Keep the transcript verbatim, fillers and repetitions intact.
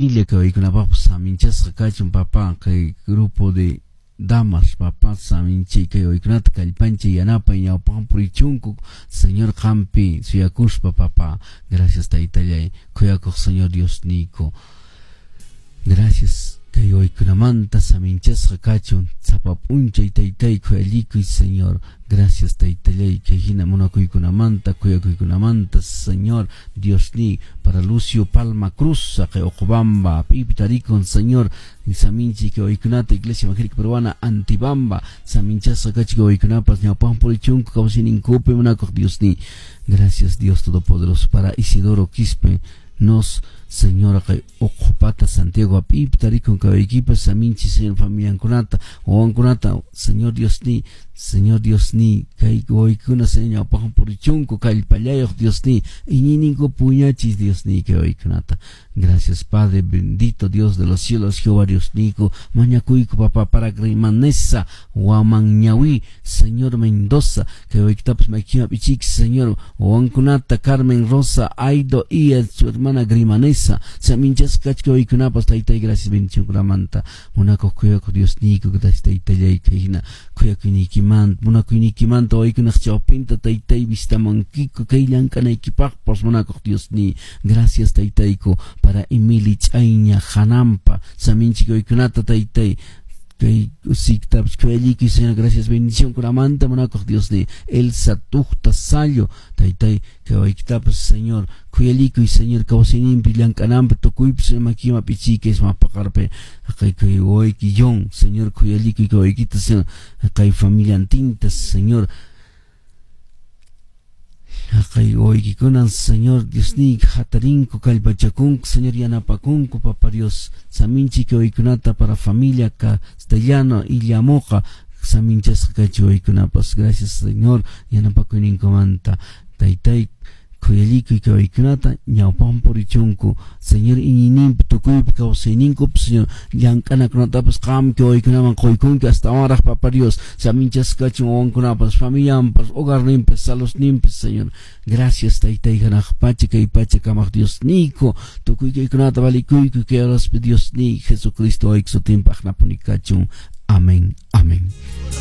Familia kay saminchasqa kachun, papá, kay grupo de damas, papá, saminchay kay waykunata kallpanchay yanapay ñawpaqman purichunku, Señor, qampi suyakuspa, papá. Gracias, taytallay, khuyakuq Señor Dios niyku. Gracias kay waykunamanta saminchasqa kachun sapa p'unchay, taytay, khuyallikuy, Señor. Gracias, taytallay, kay hina munakuykunamanta, khuyakuykunamanta, Señor Dios ni. Para Lucio Palma Cruz, kay Ocobamba pipi tarikun, Señor, saminchi kay waykunata. Iglesia Evangélica Peruana Antibamba saminchasqa kachun kay waykunapas ñawpaqman purichunku kawsayninkupi, munakuq Dios ni. Gracias, Dios Todopoderoso. Para Isidoro Quispe nos, Señor, kay Uqupata Santiago apipi tarikun kay waykipas saminchi, Señor, familiankunata, wawankunata, Señor Dios ni, Señor Dios ni. Kay waykuna, Señor, ñawpaqman purichunku kallpallayuq, Dios ni, iñiyninku puñachis, Dios ni, kay waykunata. Gracias, Padre bendito, Dios de los cielos, Jehová Dios niyku. Mañakuyku, papá, para Grimanesa Wamanñawi, Señor, Mendoza, kay waykitapas maykima pichik, Señor, wawankunata, Carmen Rosa Aido y su hermana Grimanesa, saminchasqa kachka waykunapas, taytay. Gracias bendicionkunamanta, munakuq khuyakuq Dios niyku. Gracias, taytallay, kay hina khuyakuyniykimanta, munakuyniykimanta waykunaq chawpinta, taytay, vistamankiku kay llank'anaykipaqpas, munakuq Dios ni. Gracias, taytayku. Para Emily Ch'ayña Hanampa, saminchik waykunata, taytay, kay usiktapas khuyallikuy, Señor. Gracias bendición kunamanta, munakuq Dios ni. Elsa Tuqta Sallo, taytay, kay waykitapas, Señor, khuyallikuy, Señor, kawsayninpi, llank'ananpi, tukuypi, Señor, makima pichikay mapaqarpi. Kay kay wayki John, Señor, khuyallikuy kay waykita, Señor, kay familiantinta, Señor. Kay waykikunan, Señor Dios ni, hatarinku, kallpachakunku, Señor, yanapakunku, Papa Dios, saminchi kay waykunata. Para familia Castellano y Llamoqa, saminchasqa kachi waykunapas. Gracias, Señor, yanapakuyninkumanta, taytay, khuyallikuy kay waykunata, ñawpaqman purichunku, Señor, iñiyninpi, tukuypi kawsayninkupi, Señor, llank'anakunatapas qam kay waykunaman quykunki astawanraq, Papa Dios. Saminchasqa kachun wawankunapas, familianpas, hogarninpas, saludninpas, Señor. Gracias, taytay, hanaq pacha kay pacha kamaq Dios niyku. Tukuy kaykunata valikuyku kay horaspi, Dios ni, Jesucristo wayki sutinpaq napuni kachun. Amén, amén.